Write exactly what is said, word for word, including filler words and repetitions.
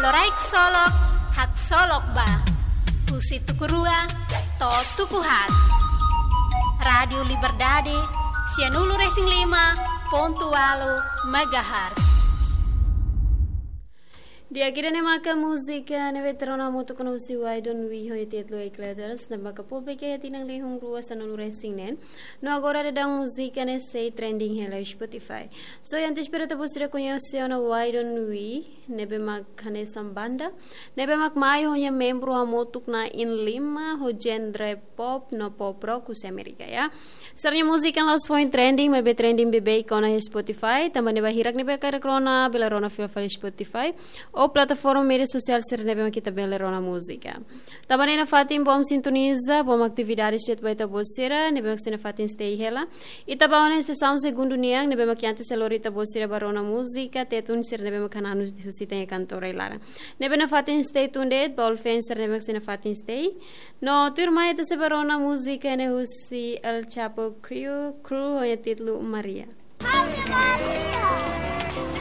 Loraik Solok, Haksolok Ba. Husi tuku rua to'o tuku haat. Rádiu Liberdade, sianulu-resin-lima pontu ualu megahertz. Di'ak, ida-ne'e maka múzika ne'ebé ita rona hamutuk ona husi Why Don't We ho títulu Eight Letters, ne'ebé maka publika iha tinan rihun rua sanulu-resin-neen. No agora daudaun múzika ne'e sei trending hela Spotify. So, antes para ita-boot sira koñese ona Why Don't We, ne'ebé mak hanesan banda, ne'ebé mak mai ho nia membru hamutuk na'in lima, ho genre pop no pop rock husi Amérika, ya. Sira-nia múzika la'ós foin trending, maibé trending beibeik ona iha Spotify, tanba ne'e ba hirak ne'ebé hakarak rona, bele rona fila fali Spotify, ou plataforma média sosiál sira ne'ebé mak ita bele rona múzika. Tanba ne'e nafatin bom sintoniza, bom atividades de'it ba ita-boot sira, ne'ebé mak sei nafatin stay hela. Ita ba ona sesaun segundu nian, ne'ebé mak antes sei lori ita-boot sira ba rona múzika, Tetun sira ne'ebé mak hananu husi ita-nia kantora iha laran. Ne'ebé nafatin stay tuned de'it, ba all fans sira ne'ebé mak sei nafatin stay. No tuirmai ita sei ba rona múzika ne'e husi El Chapo Crew, Crew ho nia títulu Maria. Ave Maria!